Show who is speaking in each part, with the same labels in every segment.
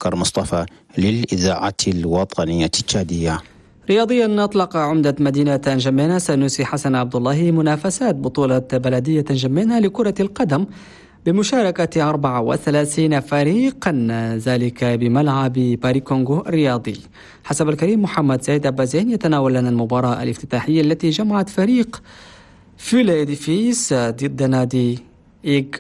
Speaker 1: بكر مصطفى للإذاعة الوطنية التشادية.
Speaker 2: رياضيا، أطلق عمدة مدينة انجمينا سنوسي حسن عبد الله منافسات بطولة بلدية انجمينا لكرة القدم بمشاركة 34 فريقا، ذلك بملعب باري كونغو الرياضي. حسب الكريم محمد سيد أبازين يتناول لنا المباراة الافتتاحية التي جمعت فريق فيلا إديفيس ضد نادي إيج.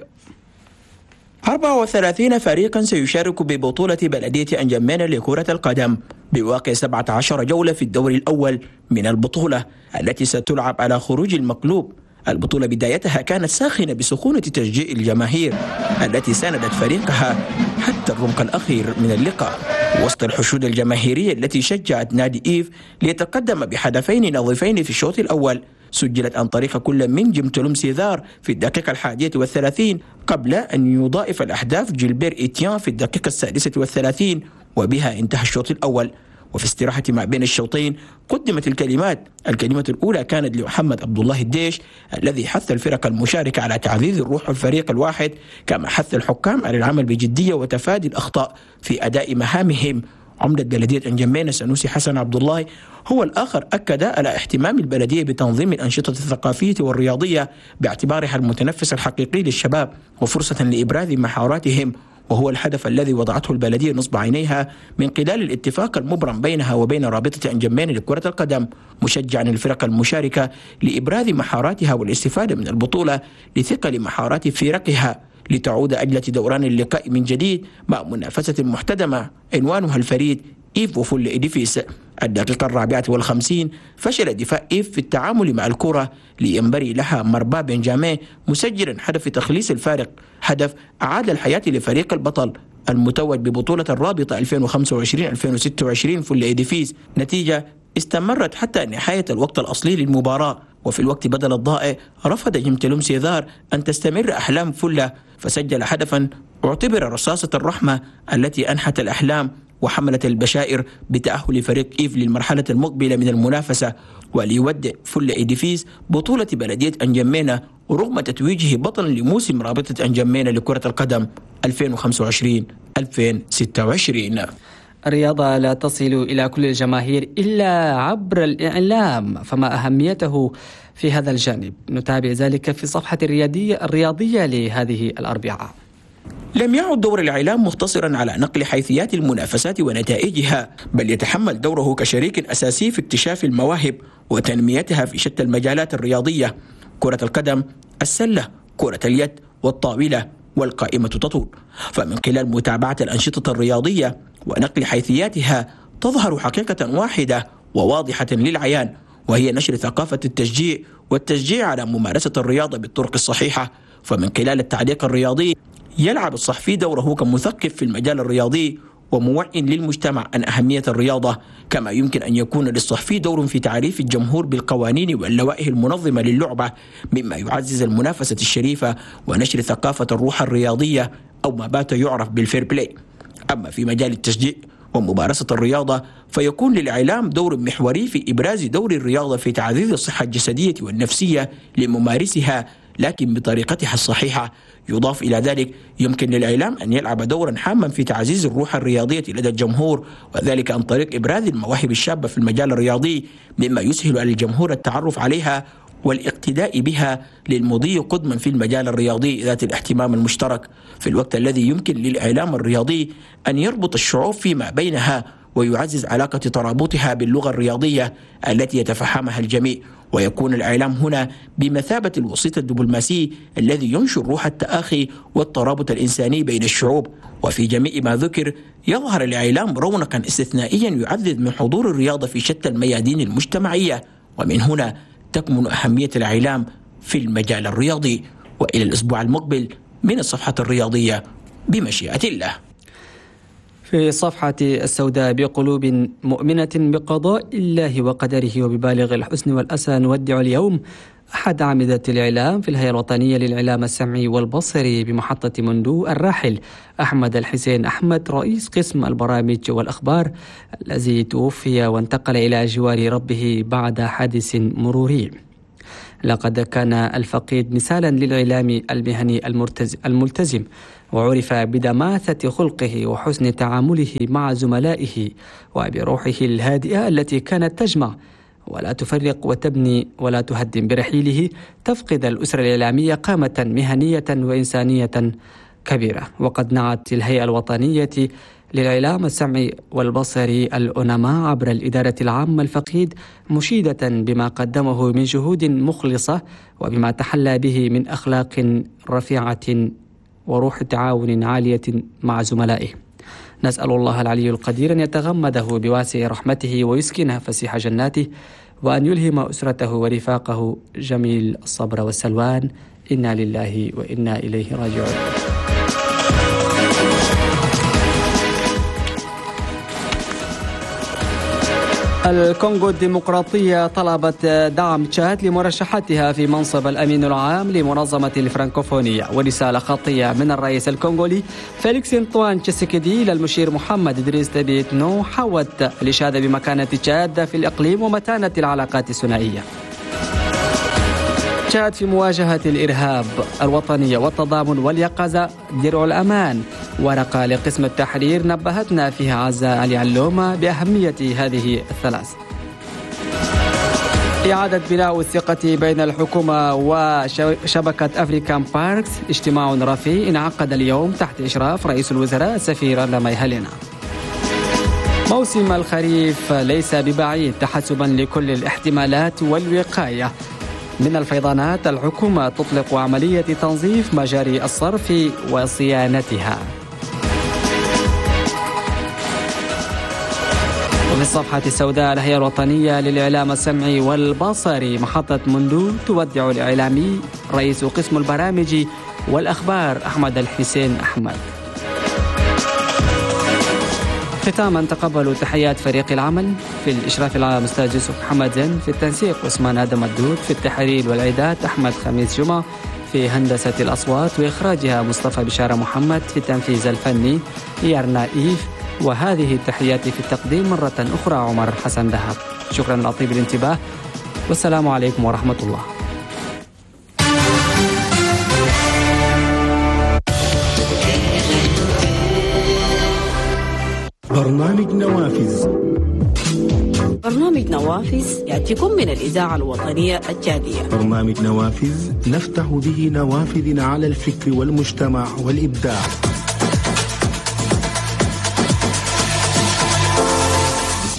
Speaker 3: 34 فريقا سيشارك ببطولة بلدية أنجمينا لكرة القدم بواقع 17 جولة في الدور الأول من البطولة التي ستلعب على خروج المقلوب. البطولة بدايتها كانت ساخنة بسخونة تشجيع الجماهير التي ساندت فريقها حتى الرمق الأخير من اللقاء، وسط الحشود الجماهيرية التي شجعت نادي إيف ليتقدم بهدفين نظيفين في الشوط الأول، سجلت عن طريق كل من جيمتولوم سيزار في الدقيقة 31 قبل أن يضاعف الأهداف جيلبير إيتيان في الدقيقة 36، وبها انتهى الشوط الأول. وفي استراحة ما بين الشوطين قدمت الكلمات. الكلمة الأولى كانت لمحمد عبد الله الديش الذي حث الفرق المشاركة على تعزيز الروح الفريق الواحد، كما حث الحكام على العمل بجدية وتفادي الأخطاء في أداء مهامهم. عمدة بلدية أنجمينا سنوسي حسن عبد الله هو الآخر أكد على اهتمام البلدية بتنظيم الأنشطة الثقافية والرياضية باعتبارها المتنفس الحقيقي للشباب وفرصة لإبراز مهاراتهم، وهو الهدف الذي وضعته البلدية نصب عينيها من خلال الاتفاق المبرم بينها وبين رابطة أنجمينا لكرة القدم، مشجعا الفرق المشاركة لإبراز مهاراتها والاستفادة من البطولة لثقل مهارات فرقها، لتعود أجلة دوران اللقاء من جديد مع منافسة محتدمة عنوانها الفريد إيف وفل إديفيس. الدقيقة 54 فشل دفاع إيف في التعامل مع الكرة لينبري لها مربا بنجامين مسجلا هدف تخليص الفارق، هدف أعاد الحياة لفريق البطل المتوج ببطولة الرابطة 2025-2026 فل إديفيس، نتيجة استمرت حتى نهاية الوقت الأصلي للمباراة. وفي الوقت بدل الضائع رفض جيمتلوم سيزار أن تستمر أحلام فلة، فسجل هدفا اعتبر رصاصة الرحمة التي أنحت الأحلام وحملت البشائر بتأهل فريق إيف للمرحلة المقبلة من المنافسة، وليودع فل إديفيس بطولة بلدية أنجمينا رغم تتويجه بطلا لموسم رابطة أنجمينا لكرة القدم 2025-2026.
Speaker 2: الرياضة لا تصل إلى كل الجماهير إلا عبر الإعلام، فما أهميته في هذا الجانب؟ نتابع ذلك في الصفحة الرياضية لهذه الأربعاء.
Speaker 3: لم يعد دور الإعلام مقتصرا على نقل حيثيات المنافسات ونتائجها، بل يتحمل دوره كشريك أساسي في اكتشاف المواهب وتنميتها في شتى المجالات الرياضية، كرة القدم، السلة، كرة اليد والطاولة، والقائمة تطول. فمن خلال متابعة الأنشطة الرياضية ونقل حيثياتها تظهر حقيقة واحدة وواضحة للعيان، وهي نشر ثقافة التشجيع والتشجيع على ممارسة الرياضة بالطرق الصحيحة. فمن خلال التعليق الرياضي يلعب الصحفي دوره كمثقف في المجال الرياضي وموعٍ للمجتمع عن أهمية الرياضة، كما يمكن أن يكون للصحفي دور في تعريف الجمهور بالقوانين واللوائح المنظمة للعبة، مما يعزز المنافسة الشريفة ونشر ثقافة الروح الرياضية أو ما بات يعرف بال fair play. أما في مجال التشجيع وممارسة الرياضة فيكون للإعلام دور محوري في إبراز دور الرياضة في تعزيز الصحة الجسدية والنفسية لممارسها، لكن بطريقتها الصحيحة. يضاف إلى ذلك يمكن للإعلام أن يلعب دورا هاما في تعزيز الروح الرياضية لدى الجمهور، وذلك عن طريق إبراز المواهب الشابة في المجال الرياضي، مما يسهل على الجمهور التعرف عليها والاقتداء بها للمضي قدما في المجال الرياضي ذات الاهتمام المشترك، في الوقت الذي يمكن للإعلام الرياضي أن يربط الشعوب فيما بينها ويعزز علاقة ترابطها باللغة الرياضية التي يتفهمها الجميع. ويكون الإعلام هنا بمثابة الوسيط الدبلوماسي الذي ينشر روح التآخي والترابط الإنساني بين الشعوب. وفي جميع ما ذكر يظهر الإعلام رونقا استثنائيا يعزز من حضور الرياضة في شتى الميادين المجتمعية، ومن هنا تكمن أهمية الإعلام في المجال الرياضي. وإلى الأسبوع المقبل من الصفحة الرياضية بمشيئة الله.
Speaker 2: في الصفحة السوداء بقلوب مؤمنة بقضاء الله وقدره وببالغ الحزن والأسى نودع اليوم أحد أعمدة الإعلام في الهيئة الوطنية للإعلام السمعي والبصري بمحطة مندو، الراحل أحمد الحسين أحمد، رئيس قسم البرامج والأخبار، الذي توفي وانتقل إلى جوار ربه بعد حادث مروري. لقد كان الفقيد مثالا للإعلام المهني الملتزم وعرف بدماثة خلقه وحسن تعامله مع زملائه وبروحه الهادئة التي كانت تجمع ولا تفرق وتبني ولا تهدم. برحيله تفقد الأسرة الإعلامية قامة مهنية وإنسانية كبيرة. وقد نعت الهيئة الوطنية للإعلام السمعي والبصري الأوناما عبر الإدارة العامة الفقيد، مشيدة بما قدمه من جهود مخلصة وبما تحلى به من أخلاق رفيعة وروح تعاون عالية مع زملائه. نسأل الله العلي القدير أن يتغمده بواسع رحمته ويسكنه فسيح جناته، وأن يلهم أسرته ورفاقه جميل الصبر والسلوان. إنا لله وإنا إليه راجعون. الكونغو الديمقراطية طلبت دعم تشاد لمرشحتها في منصب الأمين العام لمنظمة الفرنكوفونية. ورسالة خطية من الرئيس الكونغولي فيليكس أنطوان تشيسيكيدي إلى المشير محمد إدريس ديبي إتنو حوت الإشادة بمكانة تشاد في الإقليم ومتانة العلاقات الثنائية. تشاد في مواجهة الإرهاب، الوطنية والتضامن واليقظة درع الأمان. ورقة لقسم التحرير نبهتنا فيها عزة علي علومة بأهمية هذه الثلاث. إعادة بناء الثقة بين الحكومة وشبكة أفريكان باركس، اجتماع رفيع انعقد اليوم تحت إشراف رئيس الوزراء السفير لمي هلينا. موسم الخريف ليس ببعيد تحسبا لكل الاحتمالات والوقاية من الفيضانات، الحكومة تطلق عملية تنظيف مجاري الصرف وصيانتها. وفي الصفحة السوداء الهيئة الوطنية للإعلام السمعي والبصري محطة مندو تودع الإعلامي رئيس قسم البرامج والأخبار أحمد الحسين أحمد. ختاما تقبلوا تحيات فريق العمل في الإشراف العام أستاذ يوسف محمد زين، في التنسيق عثمان آدم الدود، في التحرير والإعداد أحمد خميس جمعة، في هندسة الأصوات وإخراجها مصطفى بشارة محمد، في التنفيذ الفني يارنا إيف، وهذه التحيات في التقديم مرة أخرى عمر حسن دهب. شكرا لطيب الانتباه والسلام عليكم ورحمة الله.
Speaker 4: برنامج نوافذ.
Speaker 5: برنامج نوافذ يأتيكم من الإذاعة الوطنية التشادية.
Speaker 4: برنامج نوافذ نفتح به نوافذنا على الفكر والمجتمع والإبداع.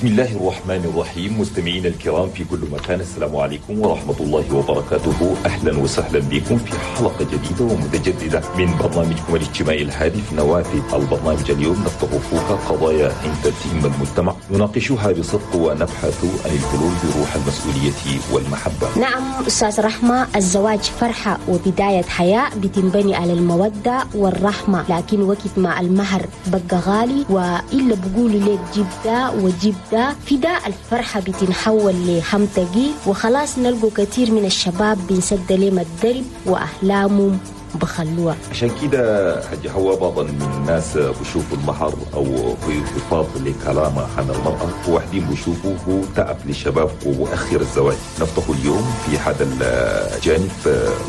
Speaker 6: بسم الله الرحمن الرحيم. مستمعينا الكرام في كل مكان، السلام عليكم ورحمة الله وبركاته. أهلا وسهلا بكم في حلقة جديدة ومتجددة من برنامجكم الاجتماعي الهادف نوافذ. البرنامج اليوم نفتح فوق قضايا تهم المجتمع، نناقشها بصدق ونبحث عن الحلول بروح المسؤولية والمحبة.
Speaker 7: نعم أستاذ رحمة، الزواج فرحة وبداية حياة بتنبني على المودة والرحمة، لكن وقت ما المهر بقى غالي وإلا بقولوا لك جيب ده وجيب ده، في ده الفرحة بتنحول لهم تقيل، وخلاص نلقوا كثير من الشباب بنسد لهم الدرب وأحلامهم بخلوها.
Speaker 6: عشان كده حاج حوا بعض من الناس بشوفوا المهر او في انخفاض لكرامه عن المراه، وواحدين بشوفوه هو تعب للشباب ومؤخر الزواج. نفتح اليوم في هذا الجانب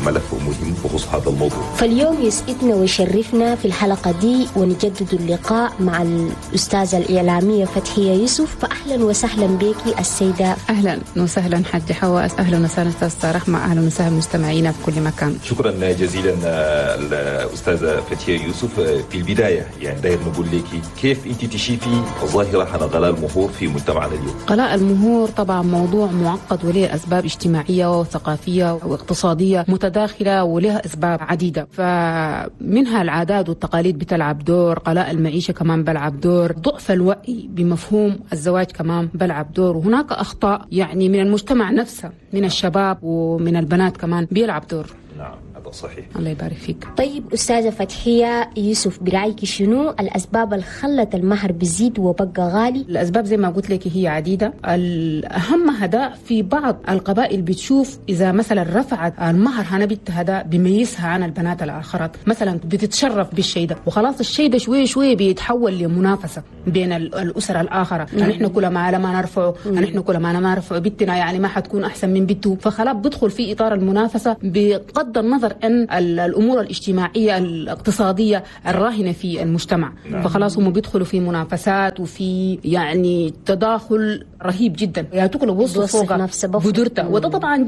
Speaker 6: ملف مهم بخصوص هذا الموضوع.
Speaker 7: فاليوم يسعدنا ويشرفنا في الحلقه دي ونجدد اللقاء مع الاستاذه الاعلاميه فتحيه يوسف. فاهلا وسهلا بك السيده.
Speaker 8: اهلا وسهلا حاج حوا، اهلا وسهلا استاذ رحمه، اهلا وسهلا مستمعينا في كل مكان.
Speaker 6: شكرا جزيلا الأستاذة فتحية يوسف. في البداية يعني داير نقول لك كيف أنت تشوفي ظاهرة عن غلاء المهور في مجتمعنا اليوم؟
Speaker 8: غلاء المهور طبعا موضوع معقد وله أسباب اجتماعية وثقافية واقتصادية متداخلة ولها أسباب عديدة، فمنها العادات والتقاليد بتلعب دور، غلاء المعيشة كمان بلعب دور، ضعف الوعي بمفهوم الزواج كمان بلعب دور، وهناك أخطاء يعني من المجتمع نفسه، من الشباب ومن البنات كمان بيلعب دور.
Speaker 6: نعم هذا صحيح.
Speaker 8: الله يبارك فيك.
Speaker 7: طيب أستاذة فتحية يوسف، برأيك شنو الأسباب اللي خلت المهر بيزيد وبقى غالي؟
Speaker 8: الأسباب زي ما قلت لك هي عديدة، الأهم هذا في بعض القبائل بتشوف إذا مثلا رفعت المهر هنا بنت هذا بيميزها عن البنات الآخرات، مثلا بتتشرف بالشيء ده، وخلاص الشيء ده شوي شوي بيتحول لمنافسة بين الأسر الآخرة. نحن كل ما ما نرفعه، نحن كل ما نرفعه بنتنا يعني ما حتكون أحسن من بنته، فخلاص بدخل في إطار المنافسة بغض النظر عن الأمور الاجتماعية الاقتصادية الراهنة في المجتمع. فخلاص هم بيدخلوا في منافسات وفي يعني تداخل رهيب جدا، يا تقول وصف فوق قدرته، وده طبعا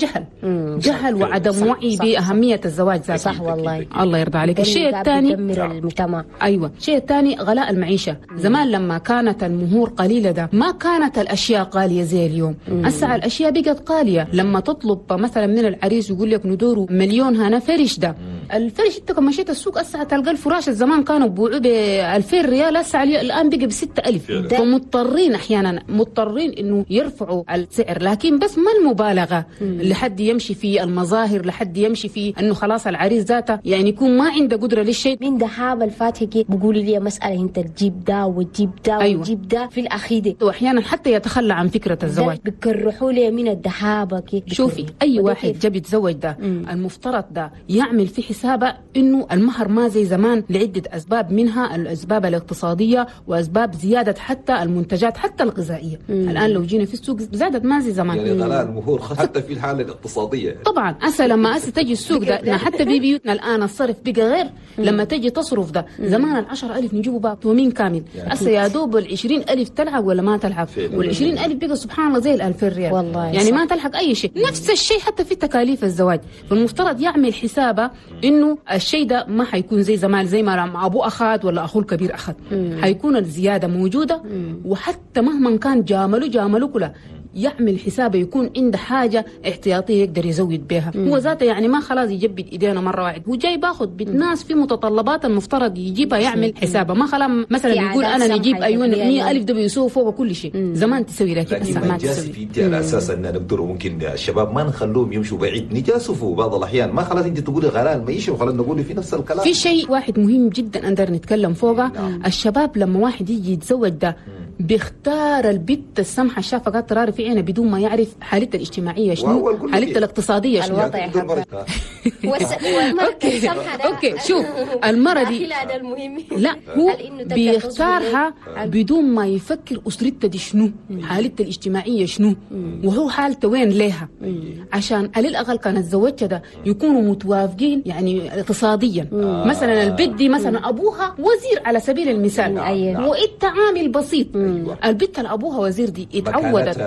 Speaker 8: جهل وعدم وعي بأهمية الزواج ذاته.
Speaker 7: صح والله،
Speaker 8: الله يرضى عليك. الشيء الثاني
Speaker 7: المجتمع.
Speaker 8: أيوة، الشيء الثاني غلاء المعيشة. زمان لما كانت المهور قليلة ده ما كانت الأشياء غالية زي اليوم. هسه الأشياء بقت غالية. لما تطلب مثلا من العريس يقول لك ندوره مليون هنا فرش، ده الفرش انت كما مشيت السوق هسه تلقى الفراش الزمان كانوا بيبيعوه ب 2000 ريال، هسه الآن بقى ب 6000. فمضطرين أحيانا مضطرين إنه يرفعوا السعر، لكن بس ما المبالغة لحد يمشي في المظاهر، لحد يمشي في إنه خلاص العريس ذاته يعني يكون ما عنده قدرة للشيء.
Speaker 7: من دهاب الفاتحة بيقولوا لي مسألة انت تجيب ده وتجيب ده. أيوة. وتجيب ده في الأخير،
Speaker 8: وأحيانا حتى يتخلى عن فكرة الزواج.
Speaker 7: بكرحوا لي من الدهابة.
Speaker 8: شوفي أي واحد جاب يتزوج ده المفترض ده يعمل في حسابه إنه المهر ما زي زمان لعدة أسباب، منها الأسباب الاقتصادية وأسباب زيادة حتى المنتجات حتى الغذائية. الآن لو جينا في السوق زادت ما زي زمان،
Speaker 6: يعني غلاء المهور حتى في الحالة الاقتصادية.
Speaker 8: طبعا هسه لما هسه تجي السوق ده حتى في بيوتنا الآن الصرف بقى غير. لما تجي تصرف ده زمان 10,000 نجيبوا بقى تومين كامل، هسه يا دوب 20,000 تلعب ولا ما تلعب، وال20,000 بقى سبحان الله زي 2000 ريال
Speaker 7: والله،
Speaker 8: يعني ما تلحق أي شيء. نفس الشيء حتى في تكاليف الزواج، فالمفترض يعمل حسابه إنه الشيء ده ما حيكون زي زمان، زي ما أبوه أخذ ولا أخوه الكبير أخذ، حيكون الزيادة موجودة. وحتى مهما كان جاملوا كله يعمل حسابه يكون عنده حاجة احتياطية يقدر يزود بها. هو ذاته يعني ما خلاص يجبد ايدينا مرة واحدة، هو جاي باخذ بيت ناس في متطلبات المفترض يجيبها يعمل حسابه، ما خلاص مثلا يقول انا نجيب ايون 100,000 ده بيسوي فوق كل شيء. زمان تسوي لكن هسه ما تسوي.
Speaker 6: انت على اساس ان نقدر ممكن الشباب ما نخلوهم يمشوا بعيد، نجاسفوا بعض الاحيان، ما خلاص انت تقولي غلاء المعيشة وخلاص نقول في نفس الكلام.
Speaker 8: في شيء واحد مهم جدا نقدر نتكلم فوقه. الشباب لما واحد يجي يتزوج ده بيختار البت السمحة الشافه قاعد تراري في عينه بدون ما يعرف حالته الاجتماعية شنو، حالته الاقتصادية شنو. okay شوف المرة دي لا هو بيختارها بدون ما يفكر اسرته دي شنو، حالته الاجتماعية شنو، وهو حالته وين ليها، عشان على الاقل كان تزوجت ده يكونوا متوافقين يعني اقتصاديا. مثلا البت دي مثلا ابوها وزير على سبيل المثال، وانت عامل بسيط. البت اللي ابوها وزير دي اتعودت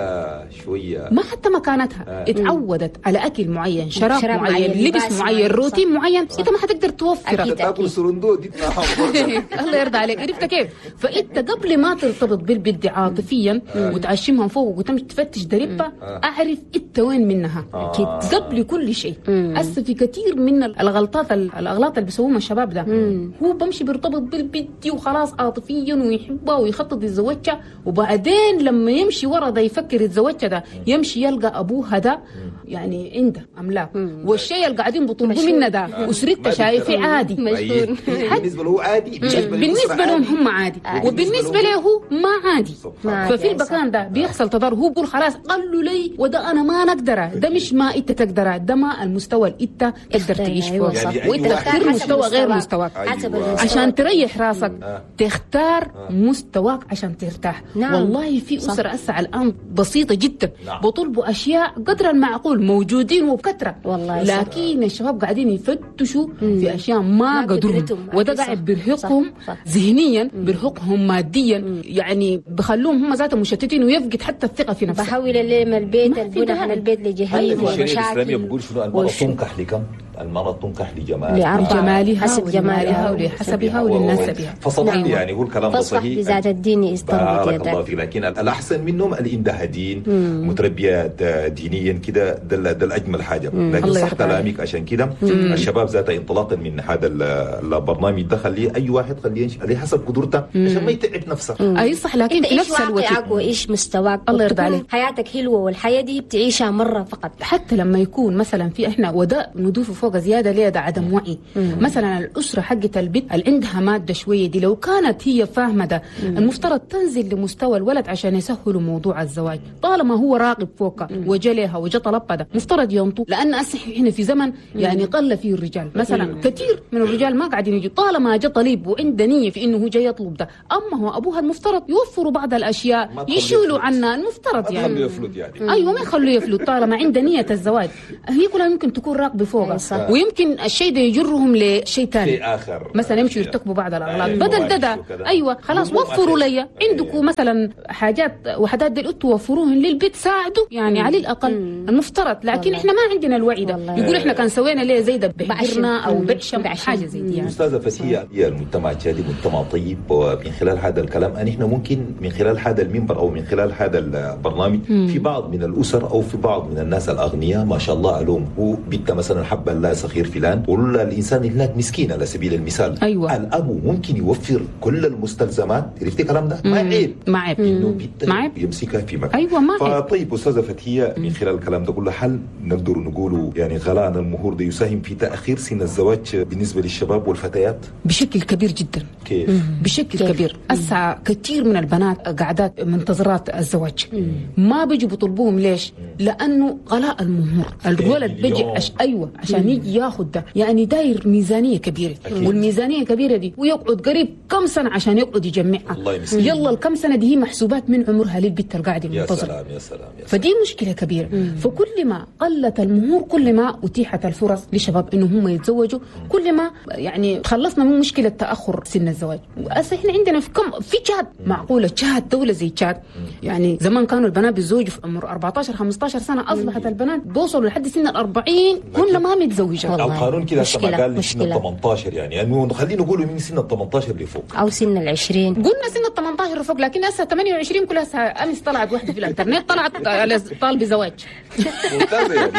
Speaker 6: شوية،
Speaker 8: ما حتى مكانتها اتعودت على اكل معين، شراب معين، لبس معين، روتين معين، انت ما حتقدر توفره.
Speaker 6: تاكل سرندو دي.
Speaker 8: الله يرضى عليك، عرفت كيف؟ فانت قبل ما ترتبط بالبت دي عاطفيا وتعشمها فوق وتمشي تفتش دربها، اعرف انت وين منها قبل كل شيء. هسه في كثير من الغلطات الاغلاط اللي بيسووها الشباب ده، هو بمشي بيرتبط بالبت دي وخلاص عاطفيا ويحبها ويخطط يتزوجها، وبعدين لما يمشي ورا ده يفكر يتزوجها ده يمشي يلقى ابوها ده يعني عنده املاك، والشيء اللي قاعدين بيطلبوه منا ده اسرته شايفه عادي.
Speaker 6: بالنسبة له عادي،
Speaker 8: بالنسبة لهم هم عادي، وبالنسبة له ما عادي. ففي المكان ده بيحصل تضارب، هو بيقول خلاص قالوا لي وده انا ما نقدره، ده مش ما انت تقدره، ده ما المستوى اللي انت تقدر تعيش فوق، وانت تختار مستوى غير مستواك عشان تريح راسك، تختار مستواك عشان ترتاح. والله في اسر هسه الان بسيطة جدا بطلبوا اشياء قدر المعقول موجودين وبكثرة
Speaker 7: والله،
Speaker 8: لكن الشباب قاعدين يفتشوا في اشياء ما قدرهم، وده قاعد بيرهقهم ذهنيا، بيرهقهم ماديا، يعني بخلوهم هم ذاتهم مشتتين ويفقد حتى الثقة في نفسه.
Speaker 7: بحاول ليه البيت البنى على البيت لجهيم
Speaker 6: ومشاكل. الاسلامية بيقول شنو؟ المراة تنكح لكم؟ المرأة تنكح لجمالها،
Speaker 8: حسب جمالها ولحسبها ولنسبها.
Speaker 6: فصدقت يعني هو الكلام صحيح.
Speaker 7: بذات الدين استربط
Speaker 6: بارك الله فيك. لكن الأحسن منهم اللي عندها دين، متربية دينيا كده، ده الأجمل حاجة. لكن صح كلامك، عشان كده الشباب ذاته انطلاقا من هذا البرنامج ده خليه أي واحد خليه عليه حسب قدرته عشان ما يتعب نفسه.
Speaker 8: أي صح، لكن في نفس الوقت
Speaker 7: وإيش مستواك،
Speaker 8: الله يرضى عليك،
Speaker 7: حياتك حلوة والحياة دي بتعيشها مرة فقط.
Speaker 8: حتى لما يكون مثلا في إحنا وده نضيفه فوق زيادة ليه ده عدم وعي. مثلا الأسرة حقت البيت اللي عندها مادة شوية دي لو كانت هي فاهمة ده المفترض تنزل لمستوى الولد عشان يسهلوا موضوع الزواج، طالما هو راغب فوقها وجلها وجا طلبها ده مفترض ينطو، لأن أصح إحنا في زمن يعني قل فيه الرجال مثلا، كثير من الرجال ما قاعدين يجوا، طالما جا طليب وعنده نية في إنه هو جاي يطلب ده، أما هو أبوها المفترض يوفروا بعض الأشياء يشيلوا عنا المفترض يعني.
Speaker 6: ما يخلوه يفلت يعني.
Speaker 8: أيوة ما يخلوه يفلت طالما عنده نية الزواج، هي كلها ممكن تكون راغبة فوقها. أيوة. ويمكن الشيء ده يجرهم لشيء ثاني،
Speaker 6: شيء اخر،
Speaker 8: مثلا يمشوا يرتكبوا بعض الاغلاط. بدل ده ايوه خلاص وفروا لي عندكم مثلا حاجات وحدات دي توفروهن للبيت، ساعدوا يعني على الاقل المفترض. لكن احنا ما عندنا الوعي ده، يقول احنا كان سوينا ليه زي ده بحجرنا او بعشم حاجة زي دي يعني.
Speaker 6: استاذه فتحيه، المجتمع التشادي مجتمع طيب، ومن خلال هذا الكلام ان احنا ممكن من خلال هذا المنبر او من خلال هذا البرنامج في بعض من الاسر او في بعض من الناس الاغنياء ما شاء الله عليهم، هو بنت مثلا حب الله صغير فلان، ولا الانسان هناك مسكين على سبيل المثال.
Speaker 8: أيوة.
Speaker 6: الاب ممكن يوفر كل المستلزمات، عرفتي الكلام ده؟ ما عيب،
Speaker 8: ما عيب
Speaker 6: انه بنت يمسكها في مكان.
Speaker 8: ايوه ما عيب.
Speaker 6: فطيب استاذه فتحيه، من خلال الكلام ده كله، هل نقدر نقوله يعني غلاء المهور ده يساهم في تاخير سن الزواج بالنسبة للشباب والفتيات؟
Speaker 8: بشكل كبير جدا.
Speaker 6: كيف؟
Speaker 8: بشكل كبير. أسعى كثير من البنات قاعدات منتظرات الزواج، ما بيجوا بيطلبوهم. ليش؟ لأنه غلاء المهور. الولد بيجي أيوة عشان يجي ياخذ ده، يعني داير ميزانية كبيرة.
Speaker 6: أكيد.
Speaker 8: والميزانية الكبيرة دي ويقعد قريب كم سنة عشان يقعد يجمعها.
Speaker 6: الله يمسكين.
Speaker 8: يلا الكم سنة دي هي محسوبات من عمرها للبنت القاعدة المنتظرة.
Speaker 6: يا سلام يا سلام يا سلام.
Speaker 8: فدي مشكلة كبيرة. فكل ما قلت المهور كل ما أتيحت الفرص لشباب إنه هم يتزوجوا، كل ما يعني خلصنا من مشكلة تأخر سن الزواج. وأصلا إحنا عندنا في كم في تشاد، معقولة تشاد دولة زي تشاد، يعني زمان كانوا البنات بيتزوجوا في عمر 14 15 سنة، أصبحت البنات بوصلوا لحد سن 40 هن ما متزوجات.
Speaker 6: القانون كده كما قال لي سن 18، يعني انه خلينا نقول من سن 18 لفوق
Speaker 7: او سن 20.
Speaker 8: قلنا سن 18 لفوق، لكن هسه 28 كلها. امس طلعت واحدة في الانترنت طلعت طالبه زواج.
Speaker 6: ممتازة يعني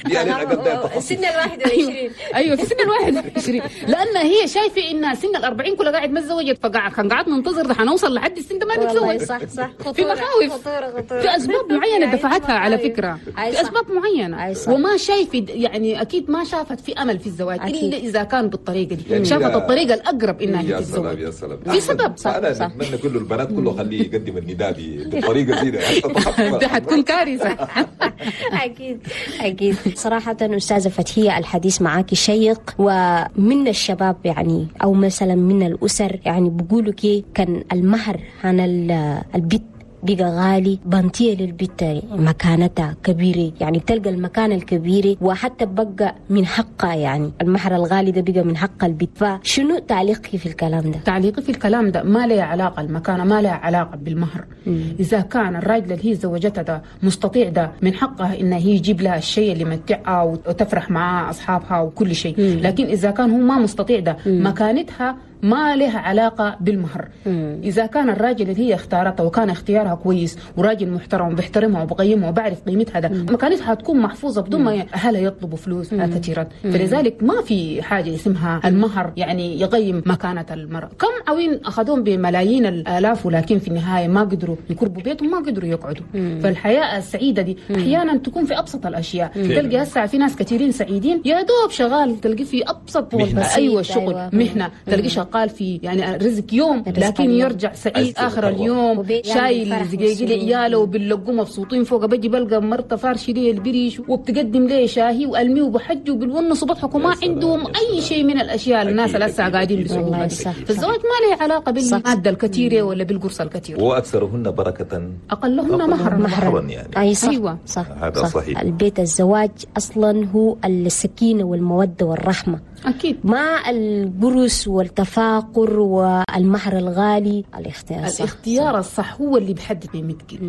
Speaker 6: دي على الاقل
Speaker 7: سن 21.
Speaker 8: ايوه في سن 21، لان هي شايفه ان سن 40 كلها قاعد ما تزوجت، فقاعد كان قاعد ننتظر ده حنوصل لحد السن ده ما نتزوج.
Speaker 7: صح صح.
Speaker 8: في مخاوف، في اسباب معينة دفعتها على فكرة، في اسباب معينة، وما شايفه يعني اكيد ما شافت في امل في الزواج الا اذا كان بالطريقة دي، يعني شافت الطريقة الاقرب انها
Speaker 6: يا
Speaker 8: تتزوج.
Speaker 6: سلام يا سلام.
Speaker 8: في سبب.
Speaker 6: صح. انا اتمنى كل البنات كله خليه يقدم النداء بالطريقة دي،
Speaker 8: ده حتكون كارثة.
Speaker 7: اكيد اكيد. صراحة استاذه فتحيه، الحديث معاك شيق، ومن الشباب يعني او مثلا من الاسر يعني بيقولوا كي كان المهر عن البيت بقى غالي، بنتية للبت مكانتها كبيرة، يعني تلقى المكانة الكبيرة، وحتى بقى من حقها، يعني المهر الغالي ده بقى من حق البت. فشنو تعليقك في الكلام ده؟
Speaker 8: تعليقي في الكلام ده ما له علاقة، المكانة ما لها علاقة بالمهر. إذا كان الراجل اللي هي زوجتها ده مستطيع، ده من حقها إنه هي يجيب لها الشيء اللي متعها وتفرح معاه أصحابها وكل شيء. لكن إذا كان هو ما مستطيع ده، مكانتها ما لها علاقة بالمهر. إذا كان الراجل اللي هي اختارته وكان اختيارها كويس وراجل محترم وبيحترمها وبقيمها وبعرف قيمتها، ده مكانتها هتكون محفوظة بدون ما أهلها يطلبوا فلوس كثيرة. فلذلك ما في حاجة اسمها المهر يعني يقيم مكانة المرأة. كم عوين أخذوهم بملايين الآلاف ولكن في النهاية ما قدروا يقربوا بيتهم، ما قدروا يقعدوا. فالحياة السعيدة دي أحيانا تكون في أبسط الأشياء. تلقي هسه في ناس كثيرين سعيدين يا دوب شغال، تلقي في أبسط
Speaker 6: مهنة.
Speaker 8: أيوة شغل. أيوة. مهنة، تلقي شغال في يعني رزق يوم، لكن يرجع سعيد آخر اليوم شايل زقيقي لعياله وبنلقوا مبسوطين فوق. بجي بلقى مرته فارشة لي البريش وبتقدم لي شاهي وألمي وبحج وبالونس وبضحك، وما عندهم أي شيء من الأشياء الناس اللي هسه قاعدين بصعوبة. فالزواج ما له علاقة بالمادة الكثيرة ولا بالقرصة الكثيرة.
Speaker 6: وأكثرهن بركة
Speaker 8: أقلهن مهرا
Speaker 6: يعني.
Speaker 7: أي صح.
Speaker 8: أيوة.
Speaker 7: صح.
Speaker 6: هذا
Speaker 7: صح.
Speaker 6: صحيح.
Speaker 7: البيت الزواج أصلا هو السكينة والمودة والرحمة.
Speaker 8: أكيد.
Speaker 7: مع البرس والتفاقر والمهر الغالي. الاختيار الصح.
Speaker 8: الاختيار الصح هو اللي بيحدد قيمتك.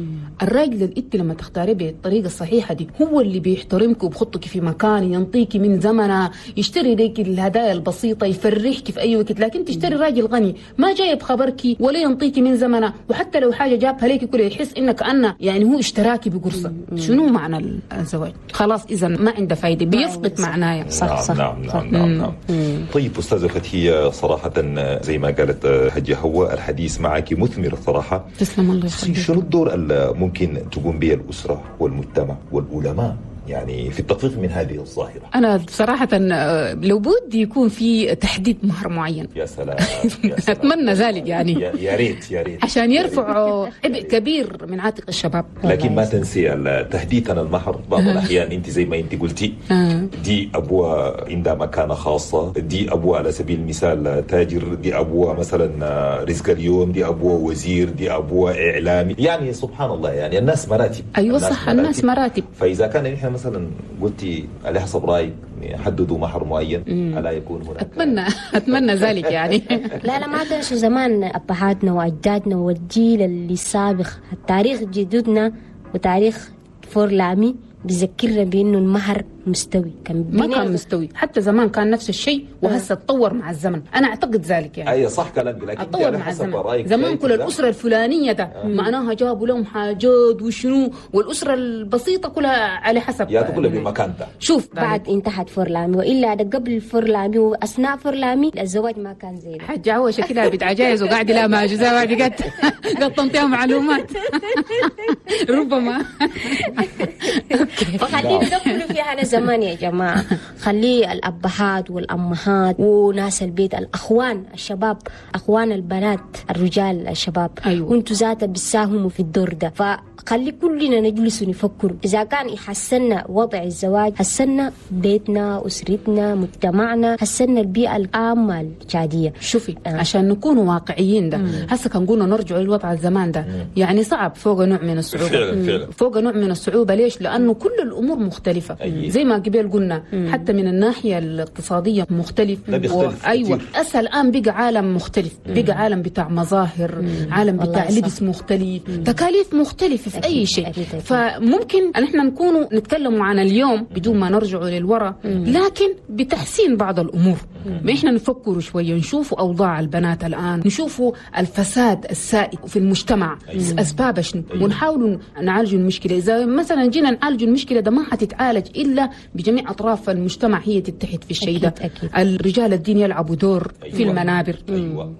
Speaker 8: الراجل اللي انت لما تختاريه بالطريقة الصحيحة دي هو اللي بيحترمك وبخطك في مكان، ينطيك من زمنه، يشتري لك الهدايا البسيطة، يفرحك في اي وقت. لكن تشتري راجل غني ما جايب خبرك ولا ينطيك من زمنه، وحتى لو حاجة جابها لك كله يحس انك انا يعني هو اشتراكي بقرصه. شنو معنى الزواج؟ خلاص اذا ما عنده فايده، بيفقد معناه.
Speaker 7: صح صح.
Speaker 6: نعم نعم نعم, نعم. طيب أستاذة فتحية، صراحة زي ما قالت حجة هو الحديث معك مثمر صراحة.
Speaker 8: تسلم الله يخليك.
Speaker 6: شنو الدور اللي ممكن تقوم به الأسرة والمجتمع والعلماء يعني في التخفيف من هذه الظاهرة؟
Speaker 8: أنا بصراحة لو بدي يكون في تحديد مهر معين.
Speaker 6: يا سلام, يا سلام.
Speaker 8: أتمنى ذلك يعني.
Speaker 6: يا ريت يا ريت،
Speaker 8: عشان يرفعوا عبء كبير من عاتق الشباب.
Speaker 6: لكن ما تنسي تهديدنا المهر بعض الأحيان. أنت زي ما أنت قلتي دي أبوها عندها مكانة خاصة، دي أبوها على سبيل المثال تاجر، دي أبوها مثلا رزق اليوم، دي أبوها وزير، دي أبوها إعلامي، يعني سبحان الله يعني الناس مراتب.
Speaker 8: أيوة صح، الناس مراتب.
Speaker 6: فإذا كان نحن مثلا قلتي على حسب رايك حددوا مهر معين الا يكون هناك؟
Speaker 8: اتمنى ذلك يعني.
Speaker 7: لا ما تنسوا زمان ابهاتنا واجدادنا والجيل اللي سابق، التاريخ جدودنا وتاريخ فورلامي بيذكرنا بانه المهر مستوي. كان
Speaker 8: ما كان مستوي حتى زمان، كان نفس الشيء، وهسه تطور مع الزمن. انا اعتقد ذلك يعني.
Speaker 6: اي صح كلامك، لكن
Speaker 8: تطور مع الزمن. زمان كل الاسرة الفلانية ده معناها جابوا لهم حاجات وشنو، والاسرة البسيطة كلها على حسب
Speaker 6: يا تقول بمكانتها.
Speaker 8: شوف
Speaker 7: بعد انتهت فورلامي، والا ده قبل فورلامي واثناء فورلامي الزواج ما كان زي ده.
Speaker 8: حاجة هو شكلها بنت عجايز وقاعدة لا ما عجوزه بعد قد تنطيها معلومات ربما.
Speaker 7: فخلينا ندخل في هذا زمان يا جماعة، خلي الأبهات والأمهات وناس البيت، الأخوان الشباب، أخوان البنات، الرجال الشباب، أيوة. وانتوا ذاتا بتساهموا في الدور ده، فخلي كلنا نجلس ونفكر إذا كان يحسننا وضع الزواج، حسنا بيتنا، أسرتنا، مجتمعنا، حسنا البيئة العامة التشادية.
Speaker 8: شوفي عشان نكون واقعيين ده هسه كان قلنا نرجع للوضع الزمان ده يعني صعب، فوق نوع من الصعوبة.
Speaker 6: فعلا.
Speaker 8: فوق نوع من الصعوبة. ليش؟ لأنه كل الأمور مختلفة. زي ما قبل قلنا حتى من الناحية الاقتصادية مختلف. أيوة أسهل الآن بقى عالم مختلف، بقى عالم بتاع مظاهر، عالم بتاع لبس مختلف، تكاليف مختلفة في أي شيء. فممكن نحن نكون نتكلم عن اليوم بدون ما نرجع للوراء، لكن بتحسين بعض الأمور. ما إحنا نفكر شوية، نشوف أوضاع البنات الآن، نشوف الفساد السائد في المجتمع، أسبابه شنو، ونحاول نعالج المشكلة. إذا مثلا جينا نعالج المشكلة ده ما حتتعالج إلا بجميع أطراف المجتمع هي تتحد في الشيء ده. الرجال الدين يلعبوا دور في المنابر،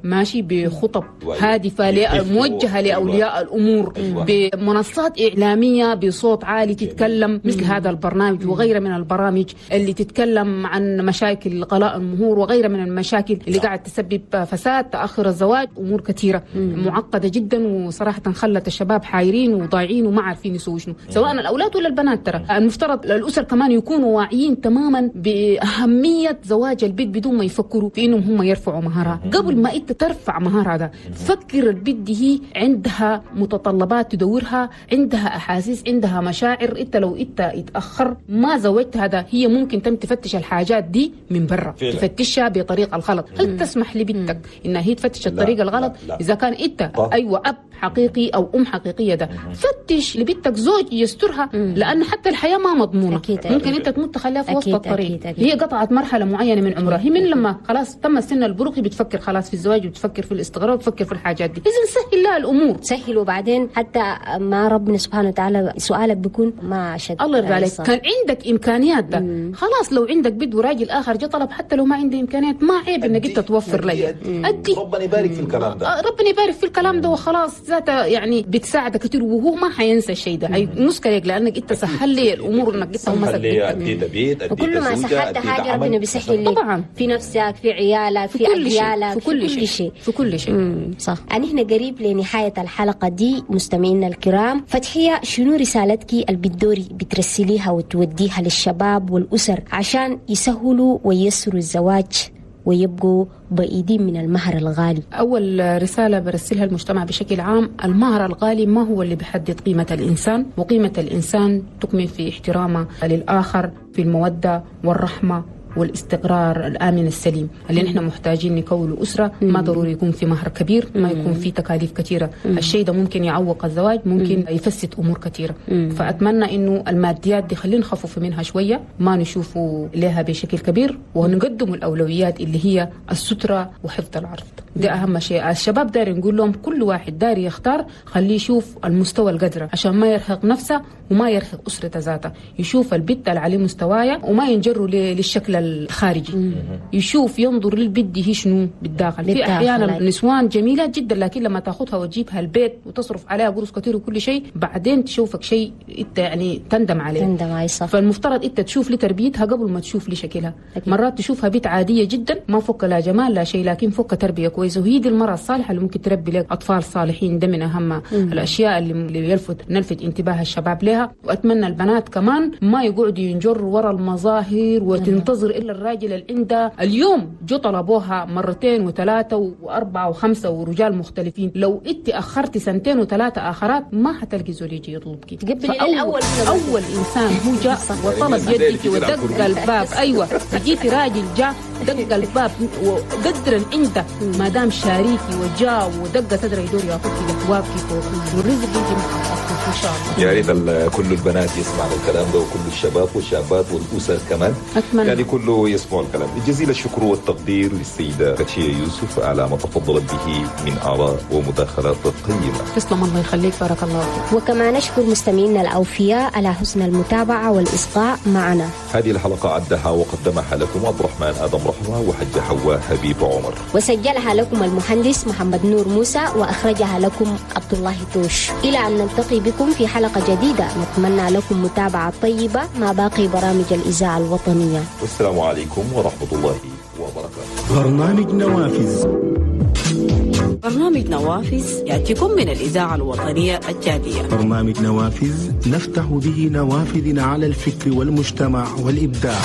Speaker 8: ماشي، بخطب هادفة موجهة لأولياء الأمور، بمنصات إعلامية بصوت عالي تتكلم، مثل هذا البرنامج وغيره من البرامج اللي تتكلم عن مشاكل غلاء المهور وغيرها من المشاكل اللي قاعد تسبب فساد، تأخر الزواج، أمور كثيرة معقدة جدا، وصراحة خلت الشباب حايرين وضايعين وما عارفين يسووا شنو، سواء الأولاد ولا البنات. ترى المفترض الأسر كمان يكونوا واعيين تماما بأهمية زواج البيت بدون ما يفكروا في إنهم هم يرفعوا مهرها. قبل ما أنت ترفع مهرها ده فكر البنت هي عندها متطلبات تدورها، عندها أحاسيس، عندها مشاعر. أنت لو أنت اتأخر ما زوجت هذا، هي ممكن تم تفتش الحاجات دي من برا، تفتشها بطريقة الغلط. هل تسمح لبنتك إنها هي تفتش الطريقة الغلط؟ لا. إذا كان أنت أيوة أب حقيقي أو أم حقيقية ده فتش لبنتك زوج يسترها، لأن حتى الحياة ما مضمونة. أكيد. ممكن أنت تموت تخليها في وسط الطريق. أكيد. هي قطعت مرحلة معينة من عمرها، هي من لما خلاص تم السن البلوغ بتفكر خلاص في الزواج، وبتفكر في الاستقرار، وبتفكر في الحاجات دي. إذن سهل لها الأمور،
Speaker 7: سهل. وبعدين حتى مع ربنا سبحانه وتعالى سؤالك بيكون ما شد.
Speaker 8: الله يرضى عليك. كان عندك إمكانيات ده خلاص، لو عندك بد وراجل آخر جا طلب، حتى لو ما عندي إمكانيات ما عيب إنك أنت توفر لي. أدي.
Speaker 6: ربنا يبارك في الكلام ده.
Speaker 8: ربنا يبارك في الكلام ده وخلاص، ذاته يعني بتساعدك كثير، وهو ما حينسى الشيء ده، حيمسكك لأنك أنت سهل لي الأمور، إنك أنت مسك
Speaker 6: أديت بيت، أديت
Speaker 7: وكل ما سهلت حاجة ربنا بيسهل لك.
Speaker 8: طبعا
Speaker 7: في نفسك، في عيالك، في أجيالك،
Speaker 8: في كل شيء، في كل شيء.
Speaker 7: صح. نحن قريب لنهاية الحلقة دي مستمعينا الكرام. فتحية، شنو رسالتك اللي بتدوري بترسليها وتوديها للشباب والأسر عشان يسهلوا ويسروا الزواج ويبقوا بعيدين من المهر الغالي؟
Speaker 8: أول رسالة برسلها المجتمع بشكل عام، المهر الغالي ما هو اللي بيحدد قيمة الإنسان، وقيمة الإنسان تكمن في احترامه للآخر، في المودة والرحمة والاستقرار الآمن السليم اللي نحن محتاجين نكون أسرة. ما ضروري يكون في مهر كبير، ما يكون في تكاليف كثيرة. الشيء ده ممكن يعوق الزواج، ممكن يفسد أمور كثيرة. فأتمنى إنه الماديات دي خلينا نخفف منها شوية، ما نشوفوا لها بشكل كبير، ونقدم الأولويات اللي هي السترة وحفظ العرض. ده أهم شيء. الشباب داري نقول لهم كل واحد داري يختار، خليه يشوف المستوى القدرة عشان ما يرهق نفسه وما يرهق أسرته ذاته. يشوف البت اللي عليه مستوايا وما ينجروا للشكل الخارجي. يشوف، ينظر للبت هي شنو بالداخل. في احيانا نسوان جميلات جدا، لكن لما تاخذها وتجيبها البيت وتصرف عليها قروش كثير وكل شيء، بعدين تشوفك شيء انت يعني تندم عليه.
Speaker 7: تندم عليه، صح.
Speaker 8: فالمفترض انت تشوف لتربيتها قبل ما تشوف لشكلها. مرات تشوفها بيت عادية جدا، ما فوق لا جمال لا شيء، لكن فوق تربيه كويسة، وهي دي المراة الصالحة اللي ممكن تربي لك اطفال صالحين. ده من اهم الاشياء اللي نلفت انتباه الشباب لها. واتمنى البنات كمان ما يقعدوا ينجروا ورا المظاهر وتنتظر تنتظر الا الراجل اللي عنده. اليوم جو طلبوها مرتين و3 و4 و5 ورجال مختلفين، لو انت اخرتي 2 و3 اخرات ما حتلقي زول يجي يطلبك.
Speaker 7: قبل
Speaker 8: اول انسان هو جاء وطلب يدك ودق الباب، ايوه جيتي راجل جاء دق الباب وقدر عنده ما دام شاريكي وجاء ودق صدره يدور ياخذك لثوابك والرزق يجي مع ان شاء الله.
Speaker 6: يا ريت كل البنات يسمعوا الكلام ده، وكل الشباب والشابات والاسر كمان،
Speaker 8: أتمنى.
Speaker 6: يعني كله يسمعوا الكلام. جزيل الشكر والتقدير للسيدة فتحيه يوسف على ما تفضلت به من اراء ومداخلات قيمة.
Speaker 8: تسلم، الله يخليك، بارك الله فيك.
Speaker 7: وكما نشكر مستمعينا الاوفياء على حسن المتابعة والاصغاء معنا.
Speaker 6: هذه الحلقة عدها وقدمها لكم عبد الرحمن ادم رحمه وحج حواء حبيب عمر،
Speaker 7: وسجلها لكم المهندس محمد نور موسى، واخرجها لكم عبد الله توش. الى ان نلتقي بكم في حلقة جديدة، نتمنى لكم متابعه طيبة مع باقي برامج الاذاعة الوطنية.
Speaker 6: والسلام عليكم ورحمة الله وبركاته.
Speaker 4: برنامج نوافذ.
Speaker 5: برنامج نوافذ يأتيكم من الإذاعة الوطنية التشادية.
Speaker 4: برنامج نوافذ نفتح به نوافذ على الفكر والمجتمع والإبداع.